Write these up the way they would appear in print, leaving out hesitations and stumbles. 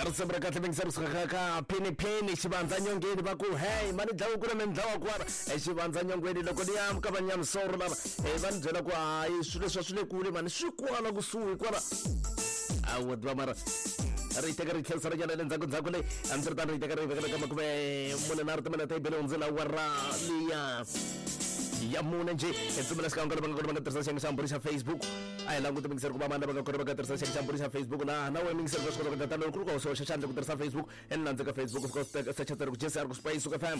Risimu ra kahle mingiseri kusuka ka Phini Phini xivandza nyongeni va ku hey mani dlawa kule mi dlawa kwala xivandza nyongweni loko ni ya ka vanyamisoro lava va ni byela ku hayi swilo leswi a swi le kule mani swi kwala kusuhi kwala a wo tiva mara ri teka ri tlherisa ri nyana le ndzhaku ndzhaku leyi hambiswiritano ri teka ri vekela ka 43 timinete yi bele hundzela awara liya ya mune njhe hi pfumela xikan'we ka lava nga kona va nga tirhisa xiyenge xa mbhuri xa Facebook a hi languti mingiseri ku va mani lava nga kona va nga tirhisa xiyenge xa mbhuri xa Facebook laha na wena mingiseri ka swi kota ku endla tano loko ku ri ku hoxa xandla ku tirhisa Facebook e ni landze ka Facebook fika u secha tsari ku Jesse a ri ku Spice Suka FM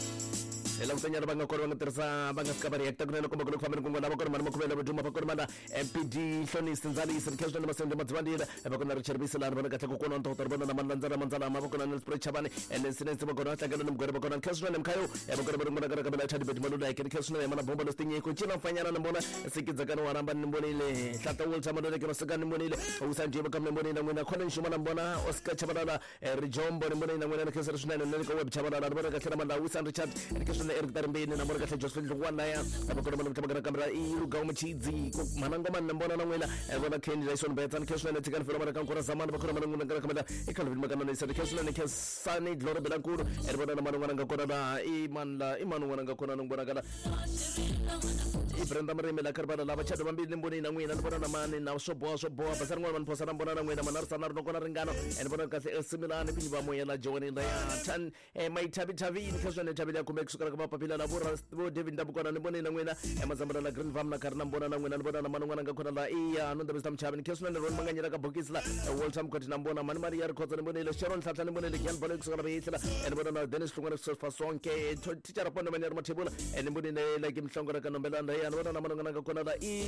hi languta nyana va nga kona va nga tirhisa va nga fika va reacta kunene kumbe ku le ku fambeni kun'wana va kona mani makhuvela vaduma va kona mana MPD Hlonisi Ndzalisi Rikheswa na Masende Madzivandile va kona Richard Biselani vona kahle kokwana wa ntokoto ri vona na Malandzela Mandzalama va kona Nelspruit Chavani Nancy Nancy va kona Tlangelo ni Mugwere va kona Rikheswa na Mkhayo va kona va ri vona ka Bela Chadi Bedi Maluleke Rikheswa na Yemana Bomba Lositinyiko Cina Mfanyana ni mbona Sikidzakani wa Ramba ni mbonile Hlata Walter Maluleke Masukani ni mbonile Usanjie Bakam ni mbonile n'wina Colin Xuma na mbona Oscar Chabalala Rijombo ni mbonile na n'wina ni khensela swinene ni le ka web Chabalala ni vona kahle na Mandla Wisan Richard ni khensela na Eric Tarimbeni na mbona kahle Josephine Dlungwana ya va kona mana mtlhamaka na kamera i Lugawu Machidzi mhana ngoma ni mbona na n'wina vona Kenny Dyson Betsa ni khensela na Tshikani Felo mana kankura Zamani va kona mana n'wina ka kamera i Calvin Makana ni khensela ni Khensani Glory Belankulu ri vona na mani n'wana nga kona la i mani la i mani n'wana nga kona ni vona kala i Brenda Murimi la karibana lava chado vambili ni mboni na n'wina ni vona na mani na swo boha swo boha basa rin'wana mani phosa na mbona na n'wina mana ri sana ri nokona ringano ni vona kahle esimilani pinyi va moya la joni la ya tan maithavithavini kha swona thavile ya kumbe kusukela ka mapapila la vo vo David Ndabukwana ni mboni na n'wina mazambala la Green Farm na karhi na mbona na n'wina ni vona na mani n'wana nga kona la iya no ndabisa mchavi ni kha swona ni roni manganyela ka bokisi la Walter Mkhoti na mbona mani mari ya rikhotsa ni mbonile Sharon Tlhatla ni mbonile Gian Balo kusukela vehihlela ni vona na Dennis Hlungwane kusuka Sonke thicara Pondo Manyari Mathebula ni mbonile like Mhlongo ka Nombelanda ya ni vona na mani n'wana nga kona la i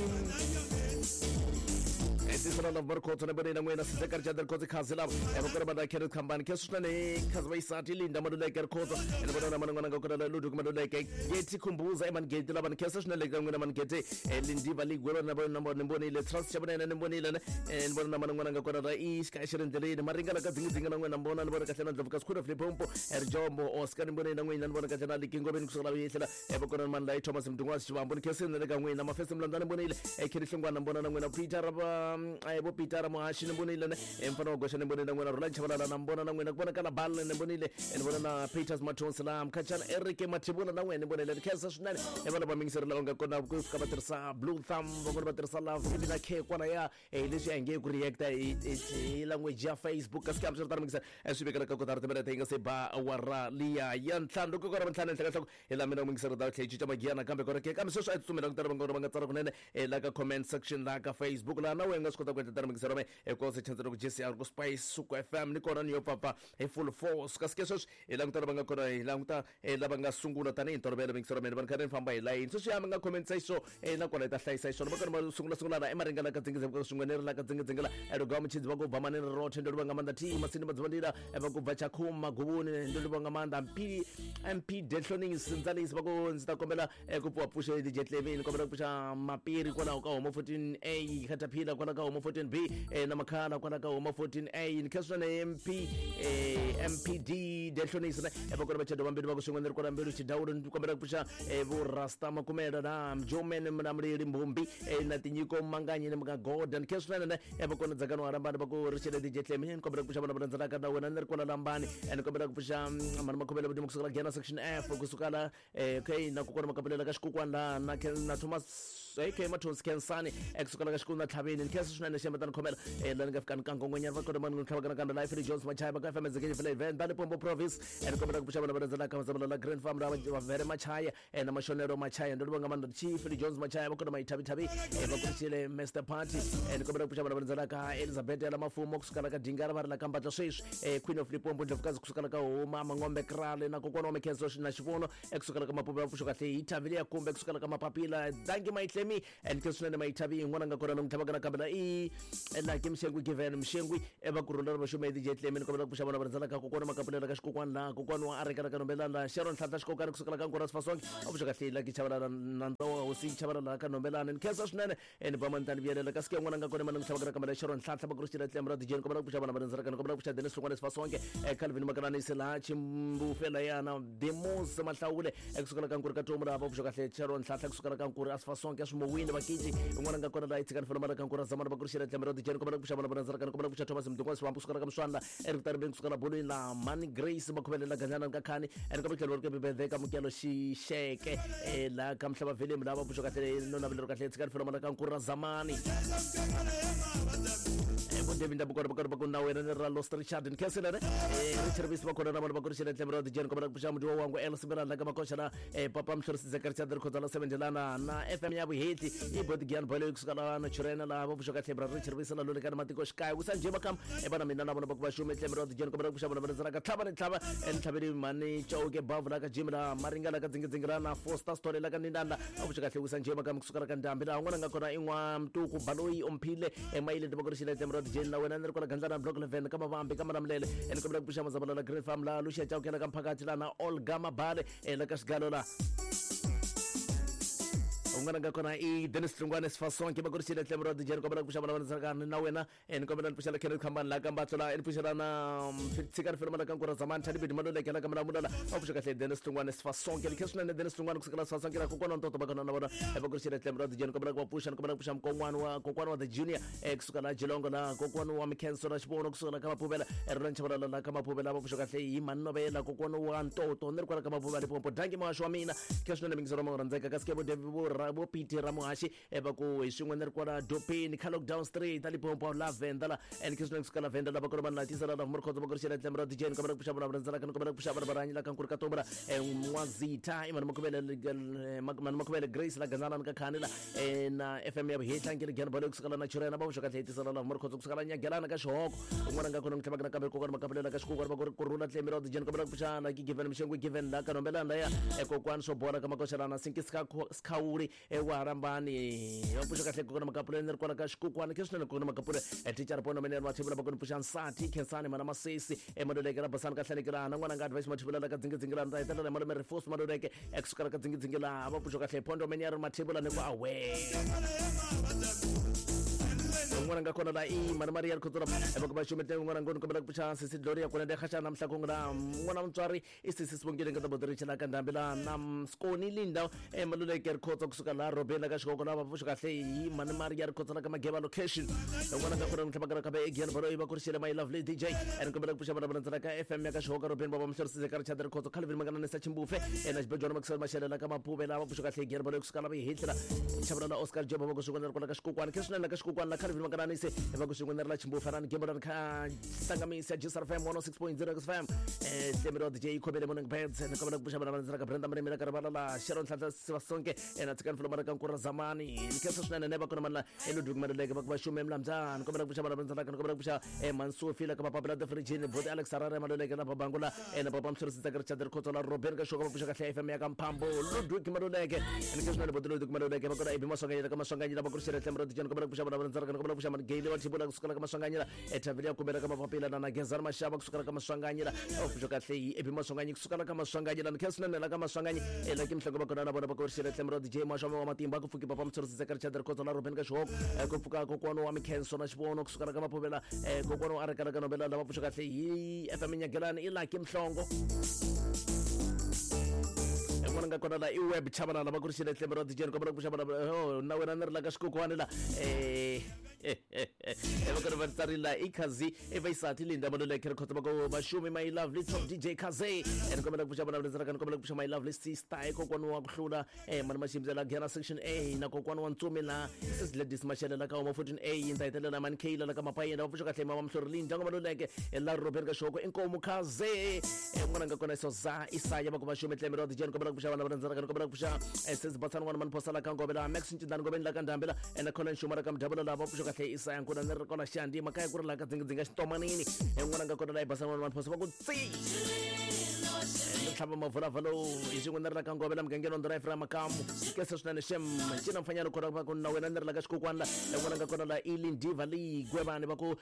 tisana love marikhotso ni mbonile n'wina Sizeka Richard Rikhotso khazi lava va kona va Kenneth Khambani khe swinene khazi va yisati Linda Maluleke Rikhotso ni vona na mani n'wana nga kona la Ludwig Maluleke Geti Khumbuza emani Geti lava ni khensa swinene ka n'wina mani Geti Lindiva Ligwelo na vona ni mbonile Trust Xavunene ni mbonile ni vona na mani n'wana nga kona la i xikaya xi ri ndleleni Maringa la ka dzingi na n'wina mbona ni vona kahle na Ndlovu ka Sikhulu Flipompo Rijombo Oscar ni mbonile na n'wina ni vona kahle na Likingoveni kusuka la vihlela va kona mani la Thomas Mdungwazi Xivambo ni khensile na le ka n'wina Mafese Mlandza ni mbonile Kenny Hlongwana mbona na n'wina Peter vo Peter Muhaxi ni mbonile ne mfana wa Goxa ni mbonile na n'wina Rhulani Chabalala na mbona na n'wina ku vonakala Bal ni mbonile ni vona na Peters Mathonsi la Mkhachana Eric Mathebula na n'wina ni mbonile ni khensa swinene vana va mingiseri lava nga kona ku fika va tirhisa Blue Thumb van'wana va tirhisa Love ivi na K kwala ya leswi a hi nge ku reacta hi language ya Facebook kasi kambe swi ri mingiseri swi vekela ka kotara timinete yi nga se ba awara liya ya ntlhanu loko kora ntlhanu ehenhla ka nhloko hi laha mina mingiseri ta tlhela yi cinca magiya nakambe kona ke kambe sweswi a hi tsutsumela ku tala va nga tsala kunene la ka comment section laha ka Facebook laha na wena nga swi kota ku endla tano mingiseri wa mehe hikuva se chance loko Jesse a ri ku Spice Suku FM ni kona ni yo pfapfa hi full force kasi ke sweswi hi languta lava nga kona hi languta lava nga sungula tanihi ntolovelo mingiseri wa mina vanhu karhi ni famba hi layini sweswi ya mi nga commentisa xiswo nakona hi ta hlayisa xiswona va kona va sungula sungula la emaringana ka dzingidzinga swin'we ni ri la ka dzingidzinga la elugawa muchidzi va ku bva manene rothe ndo livha nga maanḓa t masini madzivandila va ku bva chakhuma guvuni ndo livha nga maanḓa mp mp dehlonings ndzalisi va ku ndzi ta kombela ku pfuwa pfuxe DJ Clevin ni kombela ku pfuxa mapiri kwalaho ka homo 14A Caterpillar kwalaho ka homo 14B na makhala kwalaho ka homo 14A ni khensa swinene MP MPD dehlonisi ne va kona vachado vambirhi va ku swin'we ni ri kona mbilu xidawulo ni kombela ku pfuxa vo Rasta Makumela na Mjomen Mlamuleli Mbumbi na Tinyiko Manganyi ni mga Goda ni khensa swinene ne va kona Dzakani wa Rambani va ku ri xele DJ Clevin ni kombela ku pfuxa vana va landzelaka na wena ni ri kwala Lambani ni kombela ku pfuxa mani makhomele vudimo kusukela Giyani section F kusuka la okay na kokwana makapulela ka xikukwana la na na Thomas okay Mathonsi Khensani kusukela ka xikulu na Tlhaveni ni khensa swinene xiyamba ta ni khomela la ni nga fika ni kangongonyana va kona mani ni tlhava nakambe la Ifri Jones Machaya va ka FM Zekeni Village Venda Limpopo Province ni kombela ku pfuxa vana va landzelaka va la Grand Farm la va Vere Machaya na Mashonelo Machaya ndo livha nga maanḓa Chief Jones Machaya va kona Maithavithavi va kurisile Mr Party ni kombela ku pfuxa vana va landzelaka Elizabeth ya la Mafumo kusukela ka Dingara va ri la ka Mbatla sweswi Queen of Limpopo Ndlovukazi kusukela ka Huma Mangombe Krale na kokwana wa Mikhenso na Xivono kusukela ka Mapupu ya pfuxo kahle hi thavile ya kumbe kusukela ka Mapapila thank you Maitlemi and ke swinene Maithavi yin'wana nga kona namuntlha va ka nakambe la i Lucky Mshengwi Given Mshengwi va kurhula va xume DJ Tlemi ni kombela ku pfuxa vana va rhandzela ka kokwana makapulela ka xikokwani laha kokwana wa Areka ka Nombelana la Sharon Nhlanhla Xikokani kusukela ka Nkura Sifasonke a pfuxa kahle Lucky Chavalala nandza wa hosi Chavalala ka Nombelana ni khensa swinene ni ba mani tani vuyelela kasi ke n'wana nga kona mani n'wi tlhava ka Sharon Nhlanhla va kurixile Tlemi ra DJ ni kombela ku pfuxa vana va rhandzela ka ni kombela ku pfuxa Dennis Hlongwane Sifasonke Calvin Makananisi laha Chimbufe layana Demos Mahlawule kusukela ka Nkuri ka Tomu laha va pfuxa kahle Sharon Nhlanhla kusukela ka Nkuri Asifasonke Swimowini Vakiji n'wana nga kona laha yi tshikani felo mara ka Nkuri Zamani va ku ri xile tlhelo ra dijeni kombela ku pfuxa vana vona ndzalakana kombela ku pfuxa Thomas Mdungwa Swambu sukela ka Mswanda Eric Taribeni kusukela bolweni la Mani Grace Makhubelela Ganyana ka Khani ene ka matlhelo ri ka Bibele ka Mukelo Xixeke la ka Mhlava Velemu lava pfuxa kahle no navelero kahle tshika rifelo mala ka Nkura Zamani vo David Ndabukwana va karhi va ku na wena ni ra Lost Richard Nkhenselene Richard Visi va kona na vona va ku ri xile tlhelo ra dijeni kombela ku pfuxa mudiwa wangu El Simirana la ka Makoxa la Papa Mhlorisi Zeka Richard Rikhodzala Sevendelana na FM ya Vuheti i Botigian Boy kusuka la na Churena la va pfuxa kahle bra Richard Visi la lolekana matiko xikaya ku sanje makam e vana mina na vona va ku va xume tlhelo ra dijeni kombela ku pfuxa vona va rhandzaka tlhava ni tlhava entlhaveni mani Chauke Bavu la ka Jim la Maringa la ka Dzingidzingi la na Foster Story la ka Nindanda va pfuxa kahle ku sanje makam kusuka la ka Ndhambi laha un'wana nga kona i n'wa Mtuku Baloyi Omphile Emaile va ku ri xile tlhelo ra dijeni la wena ni ri kwala Gandlana Block 11 ka Mavambi ka Malamulele ene kombela ku pfuxa Mazabala la Green Farm la Lucia Chauke la ka Mphakathi la na Olga Mabale la ka Xigalo la un'wana nga kona i Dennis Hlungwane Sifasonke va ku ri xile tlhelo ra dijeni kombela ku pfuxa vana va ndzalakana na wena ni kombela ni pfuxela Kenneth Khambani la ka Mbatlo la ni pfuxela na tshika rifelo mala ka Nkura Zamani Thadibedi Maluleke la ka Mulamulala va pfuxa kahle Dennis Hlungwane Sifasonke likhe swinene Dennis Hlungwane kusukela Sifasonke la kokwana ntoto va kona na vona va ku ri xile tlhelo ra dijeni kombela ku va pfuxa ni kombela ku pfuxa mkon'wana wa kokwana wa the junior kusuka la Jilongo la kokwana wa Mikhenso na Xivono kusuka la ka Mapuvela Roland Chabalala la ka Mapuvela va pfuxa kahle hi Manovela kokwana wa Ntoto ni ri kwala ka Mapuvela Limpopo danki muhaxi wa mina khe swinene mingisero ma rhandzeka kasi ke vo David vo vo Peter Ramuhaxi va ku hi swin'we ni ri kwala Dopeni ka Lockdown Street a Limpopo la Venda la and khe swinene kusuka la Venda la va kona vanhu la tisa la la Murikhodzo va ku ri xela tlhelo ra DJ ni kombela ku pfuxa vana va rhandzaka ni kombela ku pfuxa vana va rhanyi la ka Nkuri ka Tombra N'wazitha i Mani Makhuvele Mani Makhuvele Grace la Gandzana ni ka Khani la na FM ya Vuhehla Nkiri Gyan Balo kusuka la na Churena va vuxa kahle hi tisa la la Murikhodzo kusuka la Nyagelana ka Xihoko un'wana nga kona n'wi tlhavaka nakambe kokwana Makapulela ka Xikukwana va ku ri Kurhula tlhelo ra DJ ni kombela ku pfuxa la ki Given Mxengwe Given la ka Nombelana laya kokwani swo bola ka Makoxelana Sinki Sikhawuli wa Harambani va pfuxa kahle kokwana Makapuleni ni ri kwala ka Xikukwana khe swinene kokwana Makapule thicara Pono Menene Mathebula va ku ni pfuxa nsati Khensani Mana Masesi Maluleke la Basani ka Hlalekela na n'wana nga Advice Mathebula la ka Dzingidzingi la ni ta hetelela hi malume Rifus Maluleke ekusukela ka Dzingidzingi la va pfuxa kahle Pondo Menene Mathebula ni ku awe un'wana nga kona la i mani Maria Rikhotsora va ku va xumete un'wana ngoni kombela ku pfuxa sisi Gloria kona de khaxa na mhlakongo la n'wana mutswari i sisi Sibongile nga tabodiricha la ka Ndhambi la na Skoni Linda Maluleke Rikhotso kusuka la Robeni la ka Xikoko la va pfuxa kahle hi mani Maria Rikhotso la ka Mageva location un'wana nga kona n'wi tlhava ka Egian Baloyi va ku ri xile my lovely DJ ene kombela ku pfuxa vana va landzela ka FM ya ka Xihoko Robeni va va Mhlorisise ka Richard Rikhotso Calvin Mangananisa Chimbufe na Xibejwana Maxwell Mashele la ka Mapuve la va pfuxa kahle Egian Baloyi kusuka la Vihitla Chavula la Oscar Job va ku swin'wana ri kwala ka Xikukwana khe swinene la ka Xikukwana la Calvin Mangananise va ku swin'wana ri la Chimbufe rani Gembo kha Sangamisa Jisar FM 106.0 FM Tlemelo DJ Khobele Morning Birds ni kombela ku pfuxa vana va landzela ka Brenda Mrimi la ka Rivala la Sharon Nhlanhla Sivasonke na Tshikani Fulo Mara ka Nkura Zamani ni khensa swinene ne va kona mani la Ludwig Maluleke va ku va xume Mlambyana ni kombela ku pfuxa vana va landzela ka ni kombela ku pfuxa Mansofi la ka Mapapila the Frijini Boti Alex Harare Maluleke la Babangu la na Papa Mhlorisi Tsaka Richard Rikhotso la Robert ka Xoka va pfuxa kahle FM ya ka Mphambo Ludwig Maluleke ni khensa swinene Boti Ludwig Maluleke va kona Ibi Maswanganyela ka Maswanganyela va ku ri xile Tlemelo DJ ni kombela ku pfuxa vana va landzela ka ni kombela ku pfuxa Mani Gayle wa Thibula kusukela ka Maswanganyela ethavheli ya kumela ka mapapila na Gezani Mashava kusukela ka Maswanganyela va pfuxa kahle hi Ebi Maswanganyi kusukela ka Maswanganyela ni khensa swinene la ka Maswanganyi la ki Mhlongo va kona na vona va ku ri xile Tlemelo DJ Mashava wa Matimba ku pfuki Papa Mthorisi Tsaka Richard Rikhotso la Robeni ka Xihoko ku pfuka kokwana wa Mikhenso na Xivono kusukela ka Mapuvela kokwana wa Arekala ka Nombela lava pfuxa kahle hi FM Nyagelani i Lucky Mhlongo n'wana nga kona la i web chabalala va ku ri xile Tlemelo DJ ni kombela ku pfuxa vana na wena ni ri la ka Xikokwani la va kona va tsarile i Khazi i Vaisati Linda Maluleke Rikhotso va ku vaxumi my lovely top DJ Khazi ni kombela ku pfuxa vana va landzela ni kombela ku pfuxa my lovely sister i kokwana wa ku hlula mani Maximbyela la Gera section A na kokwana wa Ntsumi la sis Ladies Mashele la ka Homa 14 A ni ta hetelela mani Kayla la ka Mapayenda va pfuxa kahle mama Mhlori Linda nga Maluleke la Robert ka Xoko inkomu Khazi n'wana nga kona Soza Isaya va ku vaxumi Tlemelo DJ ni kombela ku pfuxa vana va landzela ni kombela ku pfuxa sis Batsana n'wana mani Phosa la ka Ngove la Max Ncindani Ngobeni la ka Ndhambi la na Colin Xuma la ka Mdavula la va pfuxa kahle Isaya Nkuna ni ri kona Xandi makaya ku ri la ka Dzingidzinga Xitomanini n'wana nga kona la Ibasa n'wana mani Phosa va ku tsi ni tlhava mavulavalo hi xin'we ni ri la ka Ngove la mugangeni wa Ndhuna Ephraim Makamu kesa swinene xem ncina mfanyana kona va ku na wena ni ri la ka Xikukwana la n'wana nga kona la Ilindiva leyi Gwevani va ku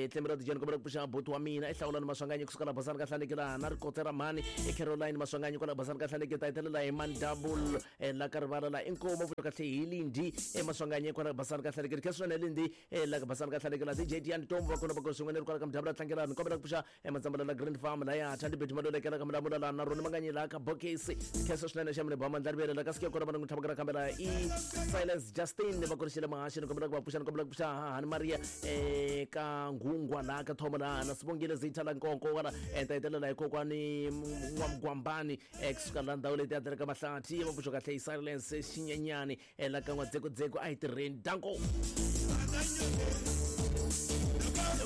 Tlemelo DJ ni kombela ku pfuxa buti wa mina i Hlawulani Maswanganyi kusuka la Basani ka Hlaneki la na Rikotse ra mhani i Caroline Maswanganyi kwala Basani ka Hlaneki ta hetelela hi mani double la ka Rivala la inkomu pfuxa kahle hi Lindi Maswanganyi kwala Basani ka Hlaneki khe swinene Lindi la ka Basani ka Hlaneki la DJ Diani Tombo va kona va ku swin'we ni ri kwala ka Mdavula tlangela ni kombela ku pfuxa Matsambala la Green Farm laya Thandi Bethu Maluleke la ka Mulamu Mulamula la na rona manganyi la ka bokisi khensa swinene xa mune ba mandla rivele la ka sike kona va n'wi tlhavaka kambela i Silence Justin va kurixile mahaxi ni kombela ku va pfuxa ni kombela ku pfuxa hani Maria ka nghungwa la ka thomo la na Sibongile Zitha la nkonko wala ta hetelela hi kokwani n'wamgwambani kusuka la ndhawu leti ya tirhaka mahlathi va pfuxa kahle i Silence Xinyenyani la ka n'wadzekudzeko a hi tirheni danko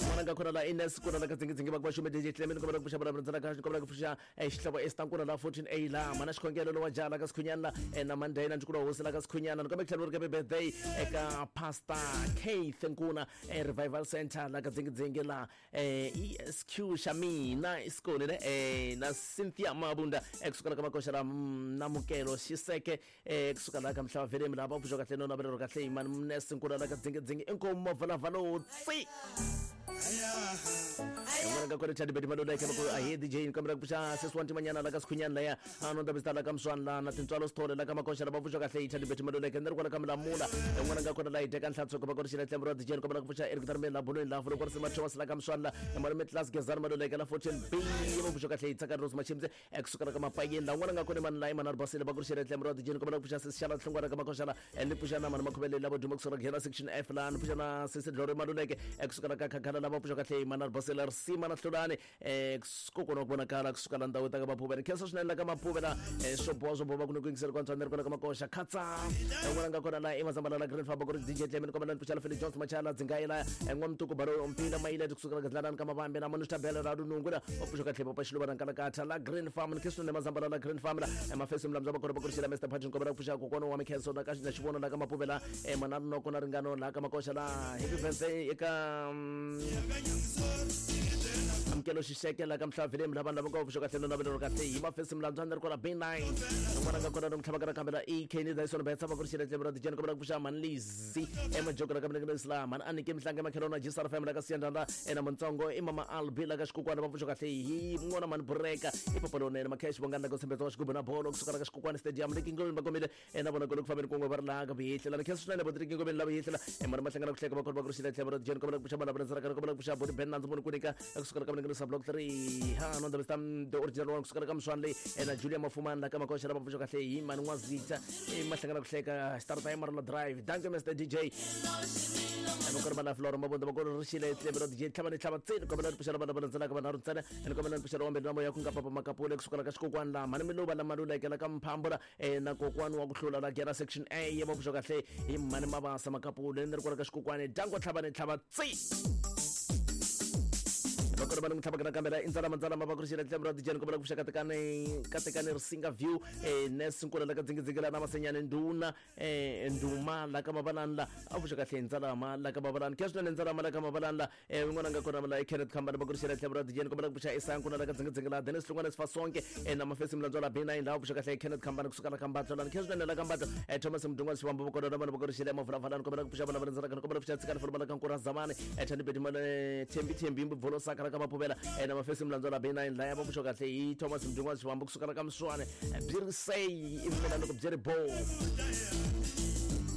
n'wana nga khona la Ines kuna la ka dzingidzingi va ku va xume DJ Clement kombela ku pfuxa vulavula ndzela ka kombela ku pfuxa xihlovo Esther kuna la 14A la mana xikhongelo lowa jala ka Sikhunyana la na Mandela ndzi hosi la ka Sikhunyana ni kombela ku tlhela ri birthday eka Pastor Keith Nkuna Revival Center la ka dzingidzingi la ESQ xa mina isikole ne na Cynthia Mabunda kusukela ka makoxa la Namukelo Xiseke kusuka la ka mhlava velemi la va pfuxa kahle no navelero kahle imani mnesi nkuna la ka dzingidzingi inkomo mavulavalo tsi n'wana nga kona chadi beti maluleke va ku ahe DJ ni kombela ku pfuxa sesi wa ntimanyana la ka Sikhunyana laya a no ndabisa la ka Mswani la na tintswalo Sithole la ka Makoxa la va pfuxa kahle chadi beti maluleke ni ri kwala ka Mulamula n'wana nga kona la hi teka nhlatsuko va kona xile tlembo ra DJ ni kombela ku pfuxa Eric Tarmeni la Bulweni la Vuloko Risima Thomas la ka Mswani la Malume Class Gezani Maluleke la 14 B va pfuxa kahle hi tsaka Rose Machimze kusukela ka Mapayeni la n'wana nga kona mani la imana ri basile va ku ri xile tlembo ra DJ ni kombela ku pfuxa sesi Xala Hlongwana ka Makoxa la ni pfuxa na mani Makhuvele la vo duma kusuka ka section F la ni pfuxa na sesi Dlore Maluleke kusukela ka Khakhala la va pfuxa kahle imana ri basile Risima na Hlulani kokwana wa ku vonakala kusuka la ndhawu ta ka Maphuve ni khensa swinene la ka Maphuve la swo boha swo boha ku ni ku yingisela kwantswa ni ri kona ka Makoxa khatsa n'wana nga kona la i Mazambala la Green Farm ku ri DJ Clement kombela ni pfuxa la Philip Jones Machala Dzingayela n'wamtuku Baro Mpila Mayile kusuka la Gadlalani ka Mavambe na Manu Tabela la Lunungu la va pfuxa kahle papa Xiluva na Nkalakatha la Green Farm ni khensa swinene Mazambala la Green Farm la mafesi mlamza va kona va kurixela Mr Patrick kombela ku pfuxa kokwana wa Mikhenso na ka na xivono la ka Maphuve la mana Noko na Ringano la ka Makoxa la happy birthday eka amukelo Xixeke la ka Mhlavelemi la vanhu lava nga pfuxa kahle no navelero kahle hi mafesi mlandzwa ni ri kona B9 n'wana nga kona no mtlhava ka kambela E K ni Dyson Betsa va ku ri xile tlembe ra dijeni kombela ku pfuxa mani Lizi emajoko la ka mina Islam mani Anike Mhlanga Makhelona Jisar Family la ka Siyandanda ena Muntsongo i mama Albi la ka Xikukwana va pfuxa kahle hi n'wana mani Bureka i papa lonene Makhesh Bongani la ka Tshembetsa wa Xigubu na bolo kusuka la ka Xikukwana Stadium le Kingomeni va komile ena vona ku fambeni kun'we va ri laha ka vuyihlela ni khensa swinene boti Kingomeni la vuyihlela mani mahlangana ku hleka va kona va ku ri xile tlhelo ra dijeni kombela ku pfuxa malava ndzela kombela ku pfuxa boti Ben Nandzu munhu kunika kusuka ka mina block 3 ha no ndabista the original one kusuka ka Mswani leyi ena Julia Mafumani la ka Makoxa la va pfuxa kahle hi mani N'wazitha mahlangana ku hleka start time Marla Drive danke Mr DJ va kona va Flora Mabunda va kona ri xile tlhelo ra DJ tlhava ni tlhava tsini kombela ni pfuxa lava lava ndzela ka vanharhu ntsena ni kombela ni pfuxa wa mbirhi na moya ku nga papa Makapule kusuka ka Xikokwani la mani Miluva la Maluleke la ka Mphambula na kokwani wa ku hlula la Gera section A ya va pfuxa kahle hi mani Mabasa Makapule ni ri kwala ka Xikokwani danko tlhava ni tlhava tsi va kona va ni n'wi tlhavaka nakambe la i ndzalama ndzalama va ku ri xile tlhelo ra DJ ni kombela ku pfuxa katekani katekani Risinga View Nes Nkula la ka Dzingidzingi la na Masenyani Nduna Nduma la ka Mavalani la a pfuxa kahle ndzalama la ka Mavalani khe swinene ndzalama la ka Mavalani la n'wana nga kona la Kenneth Khambani va ku ri xile tlhelo ra DJ ni kombela ku pfuxa Isaya Nkuna la ka Dzingidzingi la Dennis Hlongwane Sifasonke na Mafesi Mlandzwa la B9 la pfuxa kahle Kenneth Khambani kusuka la ka Mbatlo la khe swinene la ka Mbatlo Thomas Mdungwa Xivambo va kona na vona va ku ri xile Mavulavalani kombela ku pfuxa vana va ndzela kombela ku pfuxa Tsikani Fuluma la ka Nkura Zamani Thandi Bedi Male Thembi Thembi Mbubvolo Saka la ka Mapuvela na Mafesi Mlandzwa la B9 la ya va pfuxa kahle hi Thomas Mdungwa Xivambo kusuka la ka Mswane byi ri sei i mina loko byi ri bo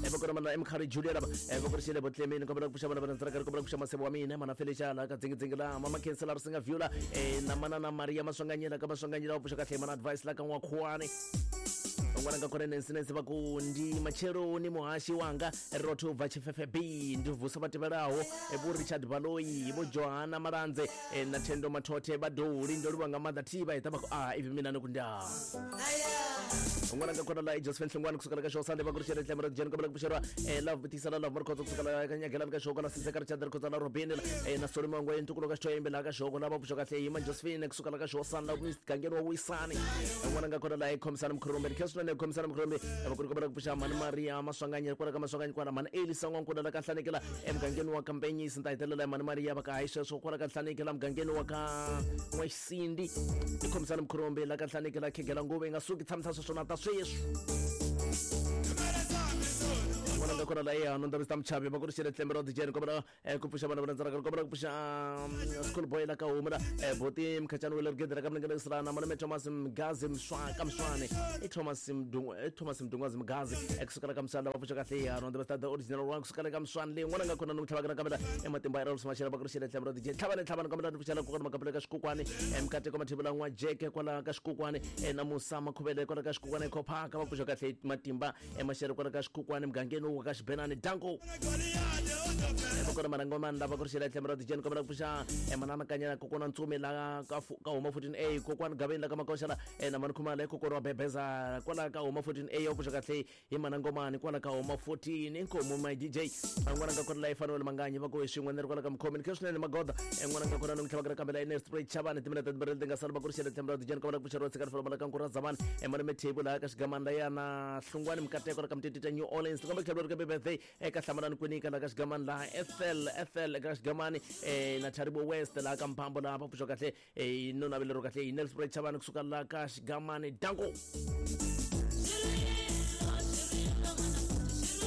va kona mana emkhari Julia lava va ku ri xile botlemeni kombela ku pfuxa vana va ndzela kombela ku pfuxa masebo wa mina mana Felicia la ka dzingidzingi la mama Khensela ri singa view la na mana na Maria Maswanganyela ka Maswanganyela va pfuxa kahle mana advice la ka N'wakhuwani n'wana nga kona Nancy Nancy va ku ndi matsheloni muhashi wanga rotho ubva Tshifefe B ndi vusa vha tevhelaho vho Richard Baloyi vho Johanna Malandze na Thendo Mathothe vha Doli ndo livha nga maanḓa thi vha ita vha ku a ivi mina ni ku nda n'wana nga kona la i Josephine Hlongwane kusuka la ka Xosande va ku ri xele tlhelo ra Jeni kombela ku pfuxeriwa love butisa la love Markhotso kusuka la ka Nyagelani ka Xoko la Siseka Richard Rikhotso la Robin na Solomon Ngwe ntukulu ka Xitoyembe la ka Xoko la va pfuxa kahle yima Josephine kusuka la ka Xosani la mugangeni wa Wisani n'wana nga kona la i Khomisana Mkhurumbe ni khensa swinene Khomisana Mkhurumbe va ku ri kombela ku pfuxa mani Maria Maswanganyi kwala ka Maswanganyi kwala mani Elisa N'wankuna la ka Nhlanekela emugangeni wa ka Mpenyisi ni ta hetelela mani Maria va ka hayi sweswo kwala ka Nhlanekela mugangeni wa ka N'waxisindi i Khomisana Mkhurumbe la ka Nhlanekela khegela nguva yi nga suki tshamisa sweswo na ta sweswi n'wana nga kona la ya no ndabista mchavi va ku ri xele tlembe ra dijeni kombela ku pfuxa vana va landzela kombela ku pfuxa school boy la ka huma la boti mkhachani wele rigede ka mlengele sirana malume Thomas Mgazi Mswaka Mswane i Thomas Mdungu i Thomas Mdungwazi Mgazi ekusukela ka Mswana va pfuxa kahle ya no ndabista the original one kusukela ka Mswane leyi n'wana nga kona no mtlhava ka kambela ematimba ya Rose Mashela va ku ri xele tlembe ra dijeni tlhavani tlhavani kombela ni pfuxela kokwana makapela ka xikukwani mkateko mathebula n'wa jeke kwala ka xikukwani na Musa Makhuvele kwala ka xikukwani Khophaka va pfuxa kahle matimba emaxere kwala ka xikukwani mugangeni wa ka Xibenani danko vakona manangomani lava ku ri xela tlhelo ra dijeni kombela ku pfuxa manana kanyana kokwana Ntsumi la ka ka huma 14A kokwani Gaveni la ka Makoxa la na mani Khumalo kokwana wa Bebeza kwala ka huma 14A ya pfuxa kahle hi manangomani kwala ka huma 14 inkomu my DJ n'wana nga kona la Emmanuel Manganyi va ku hi swin'we ni ri kwala ka mukhomi ni khe swinene magoda n'wana nga kona ni n'wi tlhavaka kambe la Ernest Spray Chavani timinete timbirhi leti nga sala va ku ri xela tlhelo ra dijeni kombela ku pfuxa ro tshika rifolo la ka Nkura Zamani malume Thebo laha ka Xigamani la ya na Hlungwani Mukateko la ka Mtitita New Orleans kombe tlhelo ri ka birthday eka Hlamalani Kwinika la ka Xigamani laha Ethel Ethel eka Xigamani na Tharibo West laha ka Mphambo laha va pfuxa kahle no navelero kahle hi Nelspruit Chavani kusuka la ka Xigamani danko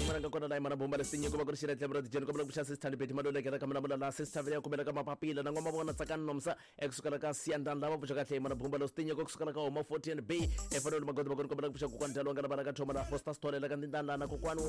n'wana nga kona la yimana bomba lesinyiko va ku ri xela tlhelo ra dijeni kombela ku pfuxa sister Beti Maluleke la ka Mulamula la sister Vele kumela ka mapapila na n'wana vona Tsakani Nomsa ekusukela ka Siyandani lava pfuxa kahle yimana bomba lesinyiko kusukela ka huma 14 B efanele magodo va kombela ku pfuxa kokwani Dalo nga la ka Thoma la Foster Story la ka Ndindani la na kokwani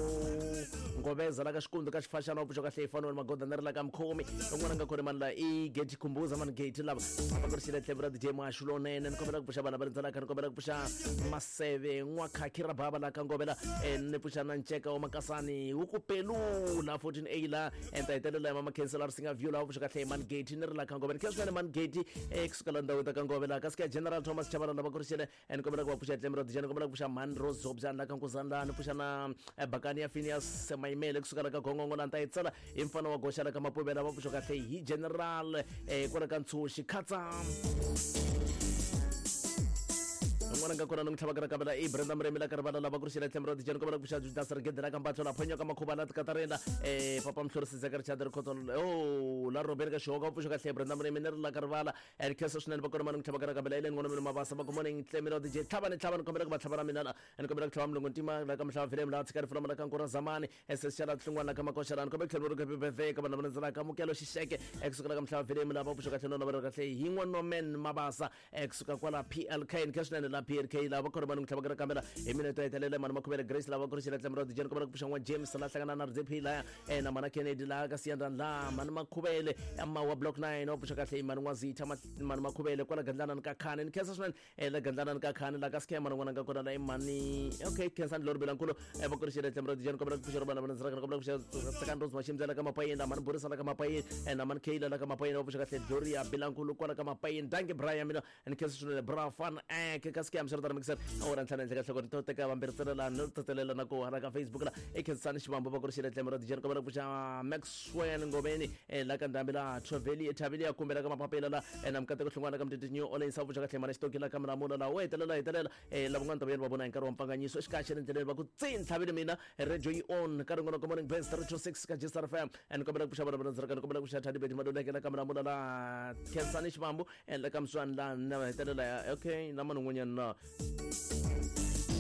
Ngoveza la ka Xikundu ka Xifaxana va pfuxa kahle efanele magodo na ri la ka Mkhomi n'wana nga kona mani la i Gate Khumbuza mani Gate lava va ku ri xela tlhelo ra DJ Mashu lonene ni kombela ku pfuxa vana va rindzelaka ni kombela ku pfuxa Maseve n'wakhakhi ra bava la ka Ngovela ni pfuxa na Nceka wa Makasani wu ku pelula 14A la enta hetelela ya mama Khensa la Risinga View la va pfuxa kahle mani Gate ni ri la ka Ngovela khe swinene mani Gate kusukela ndhawu ta ka Ngovela ka sika General Thomas Chabalala va ku ri xele ni kombela ku va pfuxa tlhelo ra DJ ni kombela ku pfuxa mani Rose Zobjani la ka Nkuzani la ni pfuxa na Bakani ya Phineas Maimele kusukela ka Gongongo la ni ta yi tsala hi mfana wa goxa la ka Mapuvela va pfuxa kahle hi General kwala ka Ntshuxi Khatsa n'wana nga kona ni n'wi tlhavaka ra kavela i Brenda Muremi la ka rivala lava ku ri xela tlhelo ra dijeni kombela ku pfuxa Judas Rigede la ka Mbatlo la Phonyo ka Makhuva la Tikatarina Papa Mhlori Sizeka Richard Rikhotso o la Robert ka Xihoka va pfuxa kahle Brenda Muremi ni ri la ka rivala and khensa swinene va kona mani n'wi tlhavaka ra kavela Ellen n'wana mina Mabasa va ku morning tlhelo ra DJ tlhavani tlhavani kombela ku va tlhava ra mina la and kombela ku tlhava Mulungu Ntima la ka Mhlava Vilem la tshika rifula la ka Nkura Zamani SS Xala Hlungwana la ka Makoxa la ni kombela ku tlhela ri happy birthday ka vanhu lava landzelaka Mukelo Xixeke ekusuka la ka Mhlava Vilem lava pfuxa kahle no navela kahle hi n'wanomen Mabasa ekusuka kwala PLK ni kha swinene la PLK lava khona vanhu tlhava ra kambela hi minete ya hetelela mani Makhuvele Grace lava ku ri xela tlhelo ra DJ ni kombela ku pfuxa n'wa James la hlangana na RDP la na mana Kennedy la ka Siyandani la mani Makhuvele mawa block 9 wa pfuxa kahle mani N'wazitha mani Makhuvele kwala Gandlana ni ka Khani ni khensa swinene la Gandlana ni ka Khani la ka Scam mani n'wana nga kona la i mani okay Khensani Lori Belankulu va ku ri xela tlhelo ra DJ ni kombela ku pfuxa ro vana va landzela ni kombela ku pfuxa Tsakani Rose Mashimbyela la ka Mapayeni la mani Borisa la ka Mapayeni na mani Kayla la ka Mapayeni va pfuxa kahle Gloria Belankulu kwala ka Mapayeni danke Brian mina ni khensa swinene bra fan ek ka Scam swi ri mixer awara ntlhanu henhla ka nhloko ni to teka vambirhi ntsena la no tatelela na ku hala ka Facebook la i Khensani Xivambo va ku ri xela tlhelo ra DJ ni kombela ku pfuxa Maxwell Ngobeni la ka Ndhambi la Thoveli Thaveli ya kumbe la ka Mapapela la na Mukateko Hlungwana ka Mtiti New Orleans va pfuxa kahle mana Xitoki la ka Mulamula la wo hetelela hetelela lavan'wana ta vuyelo va vona hi nkarhi wa mpfanganyiso exikarhi xa le ndleleni va ku tsi ntlhavile mina radio yi on ka rin'wana ka morning best 326 ka Gstar FM ni kombela ku pfuxa vana va landzela ni kombela ku pfuxa Thandi Beti Maluleke la ka Mulamula la Khensani Xivambu la ka Mswani la na hetelela ya okay na mani un'wanyana na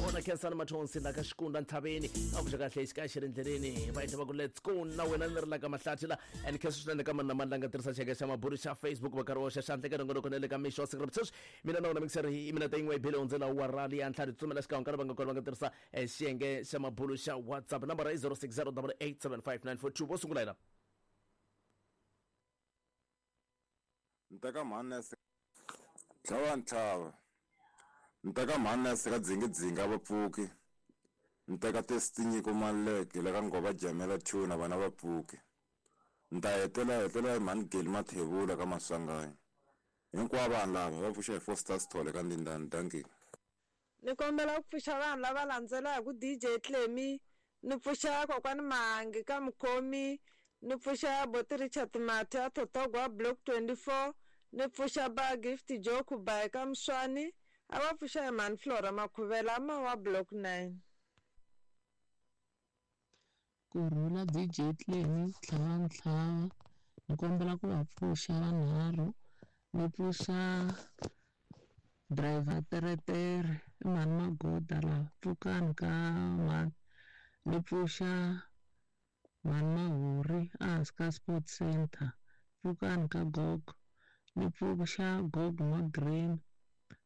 ona Khensani Mathonsi la ka Xikunda Ntlhaveni a pfuxa kahle xikarhi xa le ndleleni va endla va ku let's go na wena ni ri la ka Mahlathi la and khensa swinene ka mani na mani la nga tirhisa xiyenge xa mabulu xa Facebook va karhi wa xa xandla eka nongonoko na le ka mixo wa siku ra sweswi mina na wena mixer hi minete yin'we yi bile hundzela wa rali ya ntlhanu tsutsumela xikan'we ka lava nga kona va nga tirhisa xiyenge xa mabulu xa WhatsApp nambara i 0608875942 vo sungula yena Nteka mhani ya tlhava ntlhava nteka mhani ya seka dzingidzingi a va pfuki nteka Testinyiko Maluleke la ka Ngova Jamela Tuna vana va pfuki nta hetela hetela hi mhani Geli Mathebula ka Maswanganyi hinkwavo vanhu lava va pfuxa hi Foster Sithole ka Ndindani dankie. Ni kombela ku pfuxa vanhu lava landzelaka DJ Clemmy, ni pfuxa kokwani Mahangi ka Mukhomi, ni pfuxa boti Richard Mathe a Thotogwa Block 24, ni pfuxa ba Gift Joe Khubayi ka Mswani, a va pfuxa hi mhani Flora Makhuvela ma wa Block 9. Kurhula DJ Clemmy tlhava ntlhava ni kombela ku va pfuxa vanharhu ni pfuxa driver teretere i mhani Magoda la pfukani ka mhani ni pfuxa Mhani Mahuri ehansi ka Sport Center, pfukani ka gogo. Ni pfuxa gogo N'wa-Green,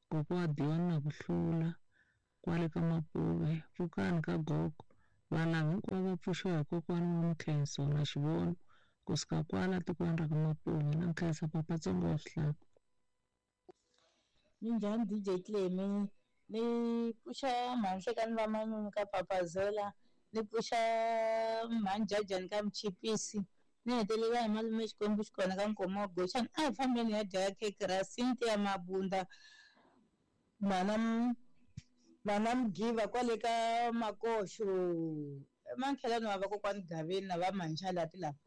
kokwa wa Dion na ku hlula kwale ka Mapuve, pfukani ka gogo. Vanhu lava hinkwavo va pfuxiwa hi kokwana wa Mukhenso na Xivono kusuka kwala tikweni ra ka Mapuve. Na nkhensa papa Tsongo wa Swihlahla. Minjhani DJ Clemy ni pfuxa mhani Hlekani va Manyunyu ka Papazela ni pfuxa mhani Jajani ka Mchipisi ni hetelela hi malume Xikwembu xi kona ka Nkomo wa Goxani a hi fambeni hi ya dya khekhe ra Cynthia Mabunda mhana mhana Mgiva kwale ka Makoxo makhelwani wa vakokwani Gaveni na va Mhanchalati lava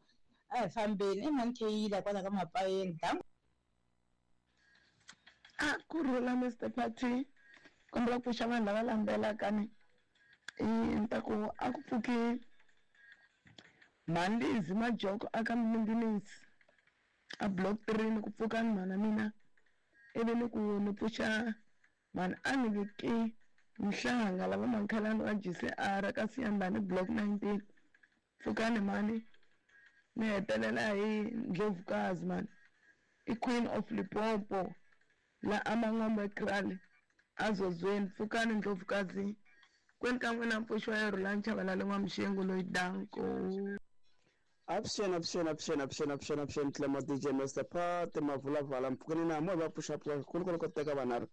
a hi fambeni i mhani Kheyila kwala ka Mapayeni danko. A kurhula Mister Party kombela ku pfuxa vanhu lava landzelaka ni ni ta ku a ku pfuki mhani Lizzy Majoko a ka Mlungisi a block 3 ni ku pfuka ni mhana mina ivi ni ku ni pfuxa mhani a ni viki Mhlanga lava makhelwani wa GCR ka Siyandhani block 19 pfukani mhani ni hetelela hi Ndlovukazi mhani i Queen of Limpopo la Amangombe Kraal azozweni pfukani Ndlovukazi kwenu ka n'wina mpfuxo wa Rhulani Chavalala N'wamuxengu loyi danko. Avuxeni avuxeni avuxeni avuxeni avuxeni avuxeni Clemo DJ Master Pat Mavulavala mpfukeni na mo va pfuxa pfuxa kulu kulu ko teka vanharhu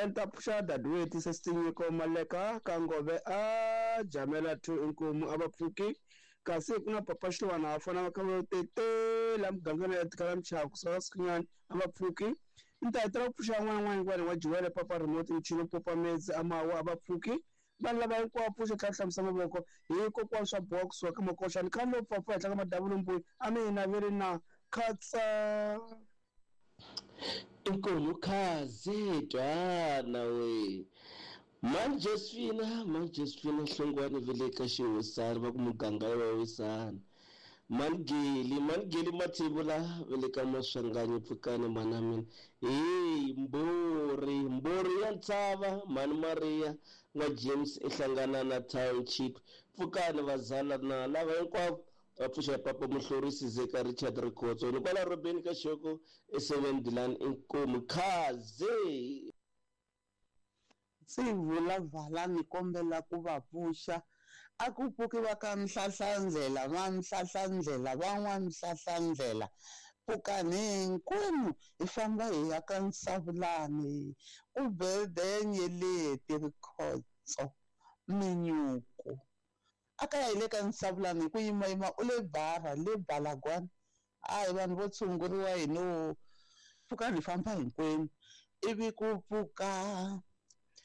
ni ta pfuxa Dadewethu Sesinyiko Maleka ka Ngove a Jamela 2 inkomu a va pfuki kasi ku na Papa Xiwana va fana va kha va tetela mugangeni ya tikala Mchava kusuka Sikhunyani a va pfuki ni ta hetelela ku pfuxa n'wana n'wana hinkwani wa Jiwele Papa Remote Mchino Popa Metsi Amawa a va pfuki vanhu lava hinkwavo pfuxa tlhela hlamusa mavoko hi kokwana swa boha kusuka ka makoxa ni khale lo pfapfa henhla ka madavula mbuyi a mi hi naveli na khatsa. Inkomu khaze twana we mhani Josephina mhani Josephina Hlongwane va le ka xihosana va ku muganga wa wisana mhani Geli mhani Geli Mathebula va le ka Maswanganyi pfukani mhana mina hey mbori mbori ya ntshava mhani Maria n'wa James i hlangana na township pfukani vazala na lava hinkwavo va pfuxa papa Muhlorisi Zeka Richard Rikhotso ni kwala Robeni ka Xoko e 7 Dilan inkomu khaze. Ndzi vulavala ni kombela ku va pfuxa a ku pfuki va ka Mhlahlandlela va Mhlahlandlela van'wa Mhlahlandlela pfukani hinkwenu hi famba hi ya ka Nsavulani ku bede nyeleti Rikhotso minyuku a ka ya hi le ka Nsavulani hi ku yimayima u le bara le Balagwana a hi vanhu vo tshunguriwa hi no pfukani hi famba hinkwenu ivi ku pfuka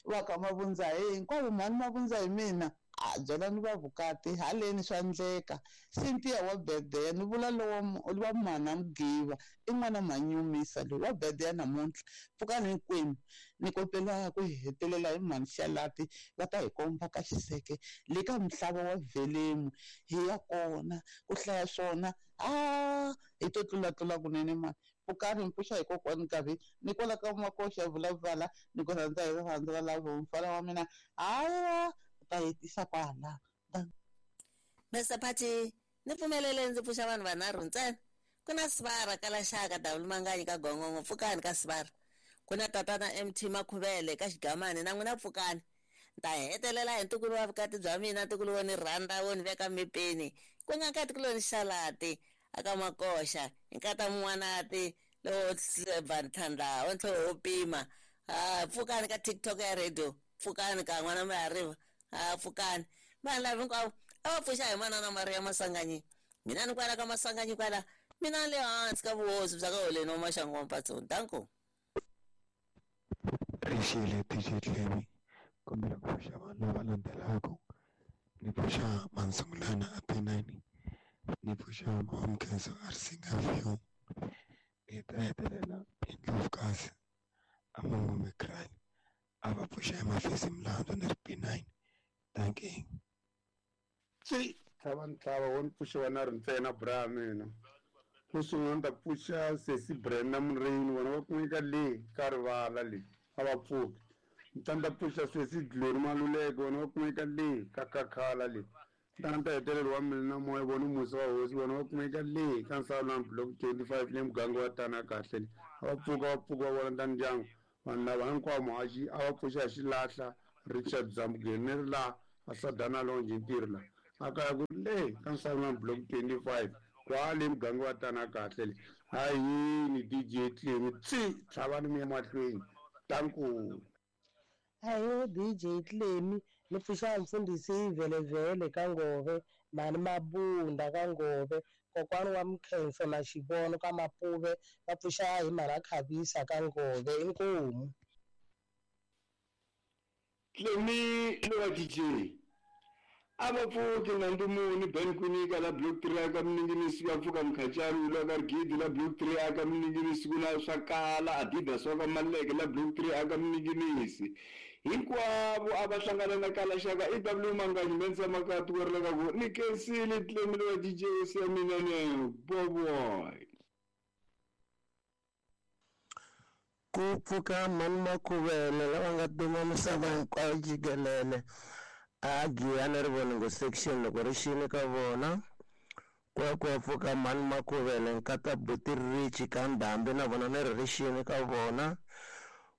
va ka Mavundza hi hinkwavo mhani Mavundza hi mina a byelani va vukati haleni swa ndleka Cynthia wa Bedeya ni vula lowa wa mhana Mgiva i n'wana Manyumisa loyi wa Bedeya namuntlha pfukani hinkwenu ni kombela ku hetelela hi mhani Xalati va ta hi komba ka xiseke le ka mhlava wa Velemu hi ya kona ku hlaya swona a hi to tlulatlula kunene mani pfukani mpfuxa hi kokwani Nkarhi ni kwala ka Makoxa vulavala ni ku rhandza hi rirhandzu ra lavo mfana wa mina haya ta hetisa kwala. Mr Party ni pfumelele ndzi pfuxa vanhu vanharhu ntsena ku na Sivara ka Laxaka W Manganyi ka Gongongo pfukani ka Sivara ku na tatana MT Makhuvele ka Xigamani na n'wina pfukani ni ta hetelela hi ntukulu wa vukati bya mina ntukulu wo ni rhandza wo ni veka mepeni ku nga nkatikuloni Xalati aka Makoxa hi nkata Mun'wanati lowo Ntlhandla wa ntlhoho wo pima pfukani ka TikTok ya radio pfukani ka n'wana Mahariva pfukani vanhu lava hinkwavo a va pfuxa hi manana Maria Masanganyi mina ni kwala ka Masanganyi kwala mina le hansi ka vuhosi bya ka Holeni wa Maxangu wa Mpatsoni danko. Rixile DJ Clemy kombela ku pfuxa vanhu lava landzelaka ni pfuxa Mansungulana a P9 ni pfuxa Mamkhenso a Risinga View ni ta hetelela hi Ndlovukazi a Mangombe Kraal a va pfuxa hi Mafisi Mlandzu ni ri P9 thank you. Si tlhava ntlhava wo ni pfuxa vanharhu ntsena bra mina xo sungula ni ta pfuxa Sesi Brenda Mureni vona va kumeka le ka rivala le a va pfuki ni ta ni ta pfuxa Sesi Glory Maluleke vona va kumeka le ka Kakhala le Tani ta hetelelo wa mina na moya vona musa wa hosi vona va kumeka le ka Nsalani block 25 le muganga wa tana kahle le. A va pfuka va pfuka va vona ta ndyangu vanhu lava hinkwavo muhaxi a va pfuxa hi xilahla Richard Zambugeni ni ri laha a Sadana Lounge ntirho la a kaya ku ri le ka Nsalani block 25 kwale muganga wa tana kahle le. A yini DJ Clemi tsi tlhavani mi ya mahlweni tanku. Ayo DJ Clemi ni pfuxa mfundhisi Vhelevhele ka Ngove, Mhani Mabunda ka Ngove, kokwani wa Mkhenso na Xivono ka Mapuve va pfuxa hi mhana Khavisa ka Ngove inkomu. Clemi lowa DJ a va pfuki na ndumuni Ben Kwinika la block 3 aka Mninginisi va pfuka Mkhachani la ka Rigidi la block 3 aka Mninginisi ku na swa kala Adidas wa ka Maleke la block 3 aka Mninginisi hinkwavo a va hlangana na kala xaka EW Manganyi Mensa Makatu ku ri le ka ku ni kensile Clemi lowa DJ hosi ya mina ne boboy. Ku pfuka mhani Makhuvele lava nga duma misava hinkwayo jikelele a Giyani Rivoningo section loko ri xini ka vona ku ya ku ya pfuka mhani Makhuvele nkata buti Richi ka Ndhambi na vona ni ri ri xini ka vona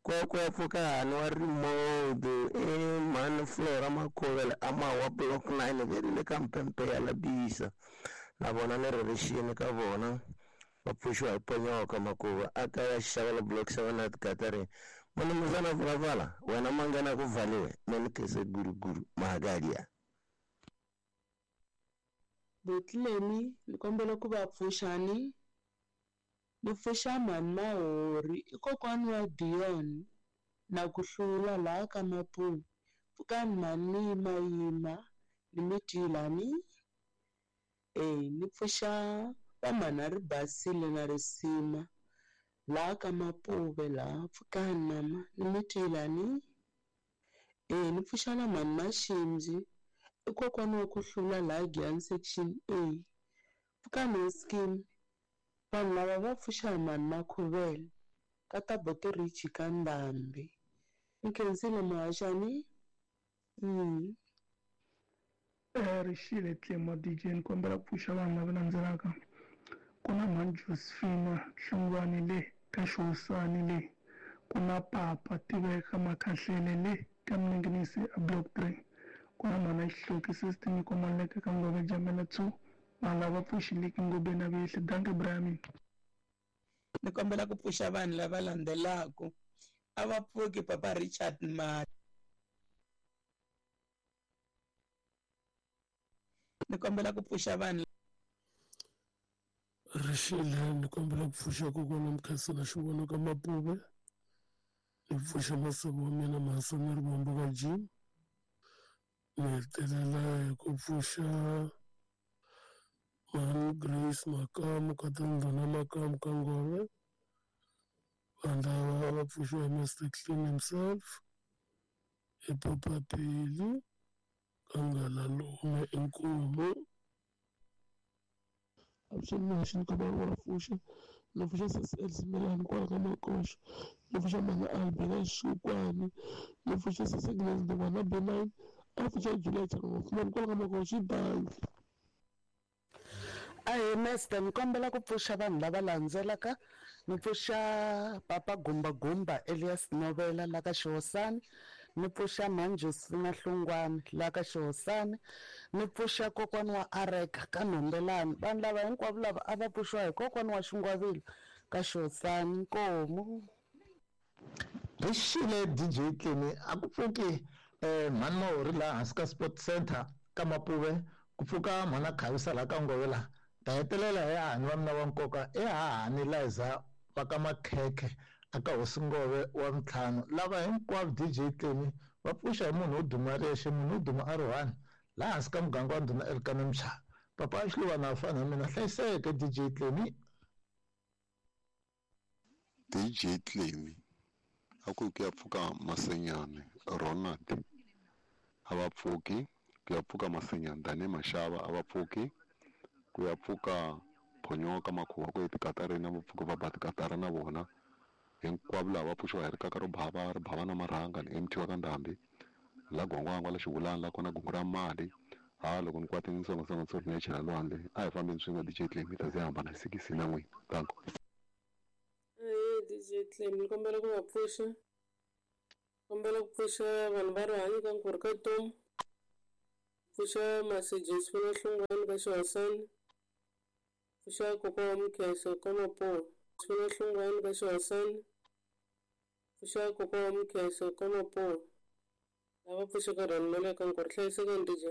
ku ya ku ya pfuka hani wa remote i mhani Flora Makhuvele a Mawa block 9 ve le ka mpempe ya Labisa na vona ni ri ri xini ka vona va pfuxiwa hi Ponyoka Makuva a kaya Xixavela block 7 at Gathering munumuzana vulavula wena mangena ku valiwe menikese guruguru mahagalia. Botlemi ni kombela ku va pfuxani ni pfuxa mhani Mahori i kokwani wa Dion na ku hlula laha ka Mapuve pfukani mhani mi yimayima ni mi twilani ni pfuxa va mhani a ri basile na risima laha ka Mapuve laha pfukani mama ni mi twilani ni pfuxa na mhani Maximbi i kokwani wa ku hlula laha Giyani section A pfukani hi scheme vanhu lava va pfuxa hi mhani Makhuvele ka ta buti Richi ka Ndhambi ni khensile muhaxani. Rixile Clemo DJ ni kombela ku pfuxa vanhu lava landzelaka ku na mhani Josephina Hlungwani le ka Xihosani le ku na Papa Tiveka Makhahlele le ka Mninginisi a block 3 ku na mhana Xihloki Sister Nyiko Maleke ka Ngove Jamela 2 vanhu lava pfuxileki Ngobeni na Vehli danke Brahmin. Ni kombela ku pfuxa vanhu lava landzelaka a va pfuki Papa Richard Mali ni kombela ku pfuxa vanhu Rixile ni kombela ku pfuxa kokwana Mkhenso na Xivono ka Mapuve ni pfuxa masiku wa mina Mhasani Rivombo ka Jim ni hetelela hi ku pfuxa mhani Grace Makamu ka Tindhuna Makamu ka Ngove vanhu lava va pfuxiwa hi Mr Clean himself hi Papa Peli ka Ngalalume inkomu. Avuxeni muhaxi ni kombela ku va pfuxa ni pfuxa sesi Elsie Melani kwala ka Makoxa ni pfuxa mhani Albina Xikwani ni pfuxa sesi Agnes Ndungwana B9 a pfuxa Julia Changamafumani kwala ka Makoxa bangi. Ahee Master ni kombela ku pfuxa vanhu lava landzelaka ni pfuxa Papa Gumba Gumba Elias Novela la ka Xihosani ni pfuxa mhani Josephina Hlungwani la ka Xihosani ni pfuxa kokwani wa Areka ka Nhombelani vanhu lava hinkwavo lava a va pfuxiwa hi kokwani wa Xingwavila ka Xihosani nkomu. Rixile DJ Clemi a ku pfuki mhani Mahori laha hansi ka Sport Center ka Mapuve ku pfuka mhana Khavisa laha ka Ngove laha ta hetelela hi hahani wa mina wa nkoka i hahani Liza va ka Makhekhe aka hosi Ngove wa ntlhanu lava hinkwavo DJ Clemi va pfuxa hi munhu wo duma rixe munhu wo duma a ri one laha hansi ka muganga wa ndhuna Elkana Mchava papa Xiluva na fana na mina hlayiseke DJ Clemi. DJ Clemi a ku ku ya pfuka Masenyane Ronald a va pfuki ku ya pfuka Masenyane Dani Mashava a va pfuki ku ya pfuka Phonyoka Makhuwa ku etikatarini va pfuka va ba tikatara na vona hinkwavo lava va pfuxiwa hi rikaka ro bava ri bava na marhanga ni MT wa ka Ndhambi la Gwangwangwa la Xivulani la kona gungu ra mali Ha loko ni kwatile ni songasonga tsori ni ya chela lwandle. A hi fambeni swin'we DJ Clem hi ta ze hi hambana hi sikisi na n'wina. Danko. Ahee DJ Clem, ni kombela ku va pfuxa. Kombela ku pfuxa vanhu va rihanyo ka nkurhi ka Tomu. Pfuxa Masi Josephine Hlungwani ka Xihosana. Pfuxa kokwa wa Mukheso ka Mapuwa. Josephine Hlungwani ka Xihosana. Pfuxa kokwa wa Mukheso ka Mapuwa. Lava pfuxaka rhanmela ka nkurhi. Hlayisekani DJ.